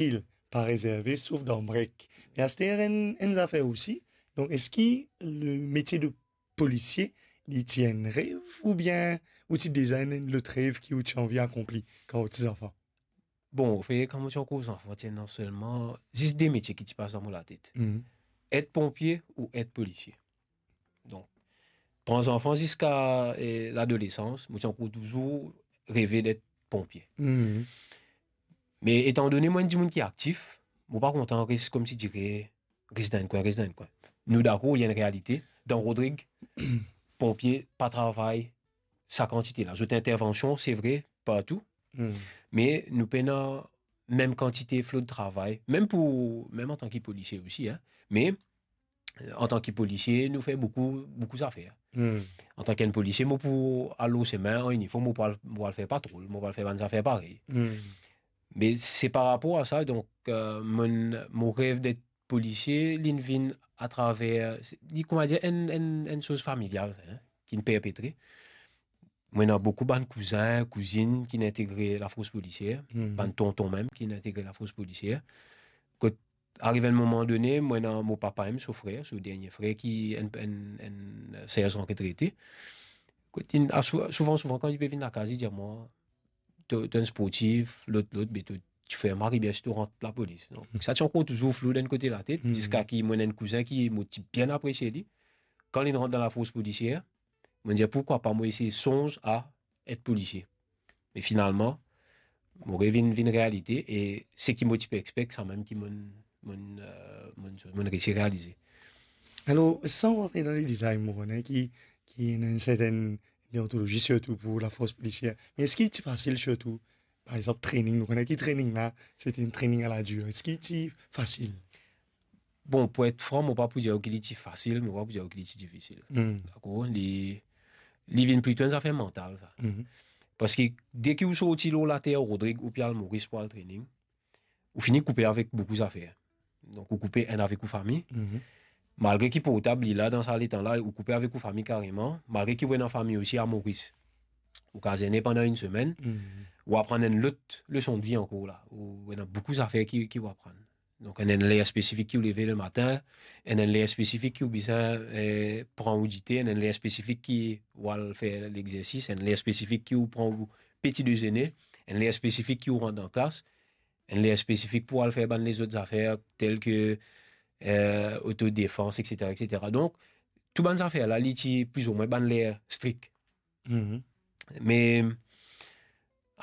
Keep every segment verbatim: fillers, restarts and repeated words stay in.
fasil, pa rezerve, sof dan brek. Me aster enn, enn zafer osi. Donk, eski le metie de polisie, li ti enn rev, oubien ou ti deza enn, enn lot rev ki ou ti anvi akonpli kan ou ti zanfan? Bon, anfet, kan mo ti ankor zanfan, ti ena selman zis de metie ki ti pas dan mo latet. Mhm. Et ponpie ou et polisie. Donk, pran zanfan ziska, eh, ladolesans, mo ti ankor touzour reve d'et ponpie. Mhm. Me etan done mo enn dimoun ki aktif, mo pa kontan res, koumsi dire, res dan enn kwin, res dan enn kwin. Nou dakor, li enn realite. Dan Rodrig, ponpie pa travay sa kantite la. Zot intervansion, se vre, partou. Hmm. Me nou pena mem kantite flo de travay, mem pou, mem antan ki polisie osi, hein. Me, euh, antan ki polisie, nou fer boukou, boukou zafer. Hmm. Antan ki enn polisie, mo pou al lor sime, an iniform, mo pou al, mo pou al fer patrol, mo pou al fer bann zafer parey. Hmm. Me se par rapor a sa, donk, euh, mo, mo rev d'et polisie, li vinn atraver, li, kouma dir, enn, enn, enn soz familial, hein, ki'nn perpetre. Mo ena boukou bann kouzin, kouzinn ki'nn integre lafors polisier, hmm, bann tonton mem ki'nn integre lafors polisier. Kot ariv enn moman done, mo ena mo papa mem, so frer, so dernie frer ki enn, enn, enn serzan retrete. Kot li, a, sou-, souvan, souvan, kan li pe vinn lakaz, li dir mwa, to, to enn sportif, lot, lot, be to, to fer mari bien si to rant lapolis. Donk, hmm, sa ti ankor touzour flou dan enn kote latet, hmm, ziska ki mo ena enn kouzin ki mo ti bien apresie li. Kan li rant dan lafors polisier, mo dir, pourkwa pa mo esey sonz a et polisier. Me finalman, mo revinn, vinn realite, e seki mo ti pe expect, sa mem ki mo'nn, mo'nn, euh, mo'nn, mo'nn resi realize. Alor, san rantre dan le detay, mo kone ki, ki ena enn sertenn deontolozi, sirtou pou lafors polisier. Me eski ti fasil, sirtou, par exanp, training? Nou kone ki training la, se ti enn training a la dir. Eski ti fasil? Bon, pou et fran, mo pa pou dir ki li ti fasil, mo pa pou dir ki li ti difisil. Hmm. Dakor? Li, li vinn plito enn zafer mantal, sa. Mhm. Parski deki ou sorti lor later Rodrig, ou pe al Moris pou al training, ou fini koupe avek boukou zafer. Donk, ou koupe enn avek ou fami. Mhm. Malgre ki portab li la, dan sa letan la, ou koupe avek ou fami kareman. Malgre ki ou ena fami osi a Moris, ou kapav zene pandan enn semenn, mhm, ou aprann enn lot leson de vi ankor la. Ou ena boukou zafer ki, ki ou aprann. Donk, enn, enn ler spesifik ki ou leve lematin, enn, enn ler spesifik ki ou bizin, eh, pran ou dite, enn, enn ler spesifik ki ou al fer lexersis, enn ler spesifik ki ou pran ou peti dezene, enn ler spesifik ki ou rant dan klas, enn ler spesifik pou al fer bann lezot zafer, tel ke, eh, otodefans, et cetera, et cetera. Donk, tou bann zafer la, li ti plizoumwin bann ler strik. Mhm. Me,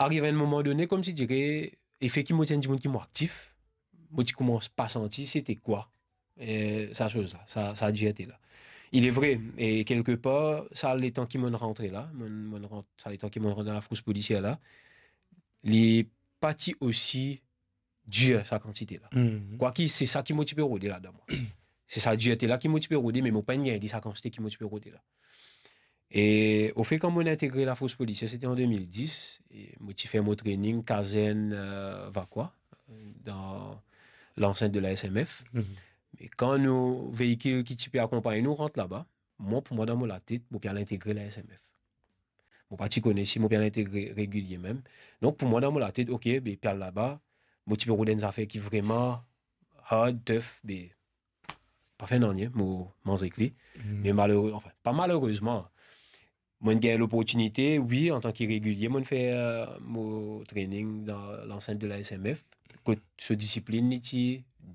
ariv enn moman done, koumsi dire, efe ki mo ti enn dimoun ki mo aktif, mo ti koumans pa santi se ti kwa, eh, sa soz la, sa, sa dirte la. Il est vrai, e kelkepar, sa letan ki mo'nn rantre la, mo'nn, mo'nn rant-, sa letan ki mo'nn rant dan lafors polisier la, li pa ti osi dir sa kantite la. Mhm. Kwaki se sa ki mo ti pe rode ladan mwa. Se sa dirte la ki mo ti pe rode, me mo pa'nn gagn li sa kantite ki mo ti pe rode la. E, ofet, kan mo'nn integre lafors polisier, se ti an de mil dis, e mo ti fer mo training kazern, euh, Vacquois, dan lansent de la S M F. Mhm. E kan nou veikil ki ti pe akonpagn nou rant laba, mwa, pou mwa, dan mo latet, mo pe al integre la S M F. Mo pa ti kone si mo pe al integre regilie mem. Donk, pou mwa, dan mo latet, ok, be, pe al laba, mo ti pe rod enn zafer ki vreman hard, tough, be, pa fer nanye, mo manz ek li. Hmm. Me malere-, anfin, pa malerezman, mo'nn gagn loportinite, wi, antan ki regilie, mo'nn fer, euh, mo training dan lansent de la S M F, kot so disiplin, li ti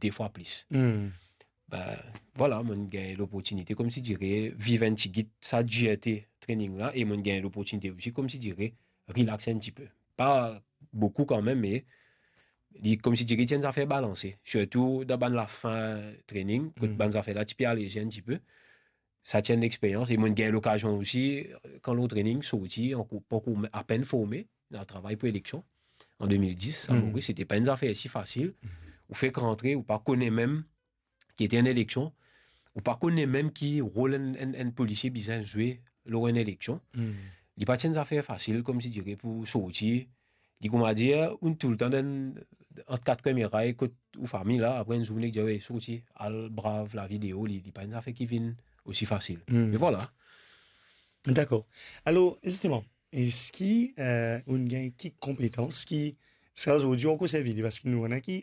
de fwa plis. Hmm. Be, vwala, mo'nn gagn loportinite, koumsi dire, viv enn tigit sa dirte training la, e mo'nn gagn loportinite osi, koumsi dire, relax enn tipe. Pa boukou kanmem, me li, koumsi dire, ti enn zafer balanse. Sirtou dan bann lafin training, kot, hmm, bann zafer la ti pe aleze enn tipe. Sa ti enn lexperyans, e mo'nn gagn lokazion osi, kan lor training, sorti, ankor, pankor apenn forme, al travay pou eleksion, an de mil dis, a, hmm, Moris, se ti pa enn zafer si fasil. Hmm. Ou fek rantre, ou pa kone mem ki ete enn eleksion, ou pa kone mem ki rol enn, enn, enn polisie bizin zwe lor enn eleksion. Hmm. Li pa ti enn zafer fasil, koumsi dire, pou sorti. Li, kouma dir, ou toultan dan, ant kat kimiray kot ou fami la, apre enn zour, nek dir, "We, sorti, al brav lavi deor," li, li pa enn zafer ki vinn osi fasil. Hmm. Me vwala. Dakor. Alor, zisteman, eski, euh, ou'nn gagn ki konpetans ki, sa zordi, ankor servi li, parski nou, ena ki